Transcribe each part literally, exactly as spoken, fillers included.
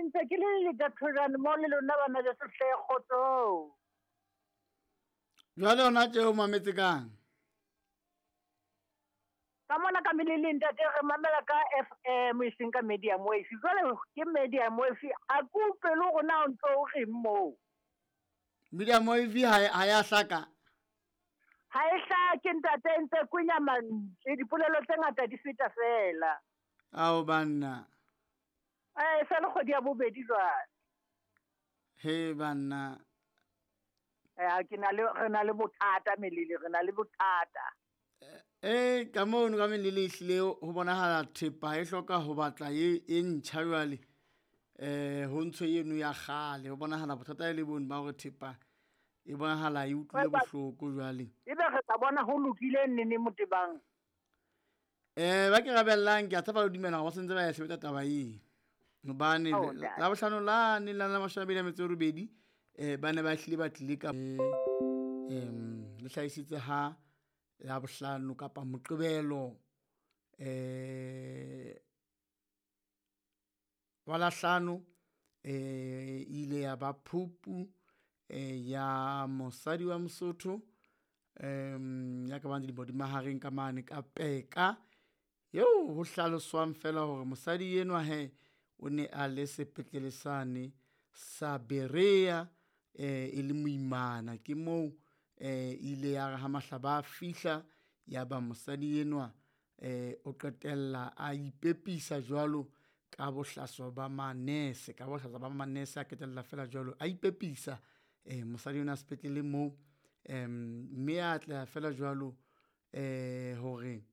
Ntse ke le letathojane mo le lona bana beso hle kgotsong. Jwale hona tje o mametse kang? Ka mona ka meleleng ntate re mamela ka F M e seng ka Medium Wave. Jwale ke Medium Wave a ke utlwe le hore na o ntso o reng moo. Medium Wave ha ha ya hlaka. Ha e hlake ntate, ntse kwenya mantswe, dipolelo tse ngata di feta fela. Ao banna. Eh, sa le kgwedi ya bobedi jwale. He banna. Eh, ke na le re na le bothata melele, re na le bothata. Eh, ka mono ka melele ehlile ho bonahala thepa e hloka ho batla e e ntjha jwale. Eh, ho ntsho eno ya kgale, ho bonahala bothata e le bone ba hore thepa e bonahala e utlwile bohloko jwale. Ebe re tla bona ho lokile nene motebang. Eh, ba ke rabellang ke a tshepa le dumela hore ba sentse ba ya sebetsa taba eo. Hobane la bohlano la ne la la mashome a mabedi a metso e robedi eh ba ne ba hlile ba tlile ka em le hlahisitse ha la bohlano kapa Moqebelo eh wa la hlano eh ile ya ba phupu eh ya mosadi wa Mosotho em ya ka bang dilemo di mahareng ka mane ka Peka eo ho hlaloswang fela hore mosadi enwa he o ne a le sepetlele sane sa Berea eh e le moimana. Ke moo eh ile ya re ha mahlaba a fihla ya ba mosadi enwa eh o qetella a ipepisa jwalo ka bohlaswa ba manese, ka bohlaswa ba manese a qetella fela jwalo a ipepisa eh mosadi ona sepetlele moo em mme a atleha fela jwalo eh hore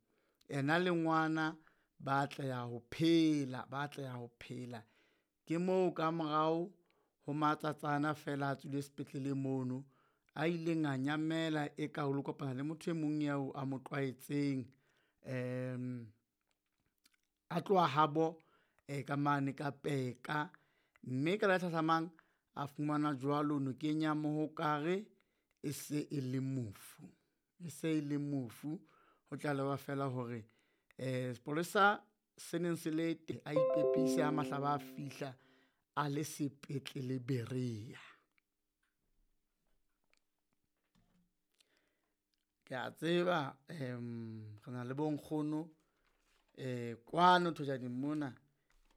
ena le ngwana ba atleha ho phela, ba atleha ho phela. Ke moo ka morao ho matsatsana fela a tswile sepetlele mono a ileng a nyamela e ka o lo kopana le motho e mong eo a mo tlwaetseng em a tloha habo eh ka mane ka Peka, mme ka le hlahlamang a fumana jwalo nokeng ya Mohokare e se e le mofu, e se e le mofu. Ho tlalewa fela hore eh sepolesa se neng se le teng a ipepise ha mahlaba a fihla a le sepetlele Berea. Ke a tseba em re na le bonkgono eh kwano Thojaneng mona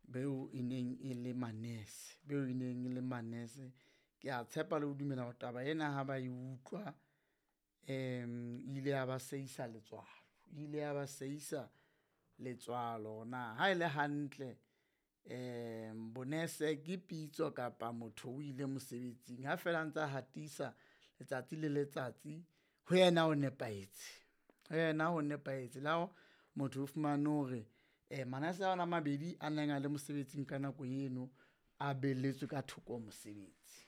beo e neng e le manese, beo e neng e le manese. Ke a tshepa le ho dumela hore taba ena ha ba e utlwa em ile ya ba seisa letswalo, ile ya ba seisa letswalo. Na ha ele hantle em bonese ke pitso kapa motho o ile mosebetsing ha fela a ntsa hatisa letsatsi le letsatsi ho yena o nepahetse, ho yena ho nepahetse. Le ha motho o fumane hore eh manese ana a mabedi a neng a le mosebetsing ka nako eno a belletswe ka thoko ho mosebetsi.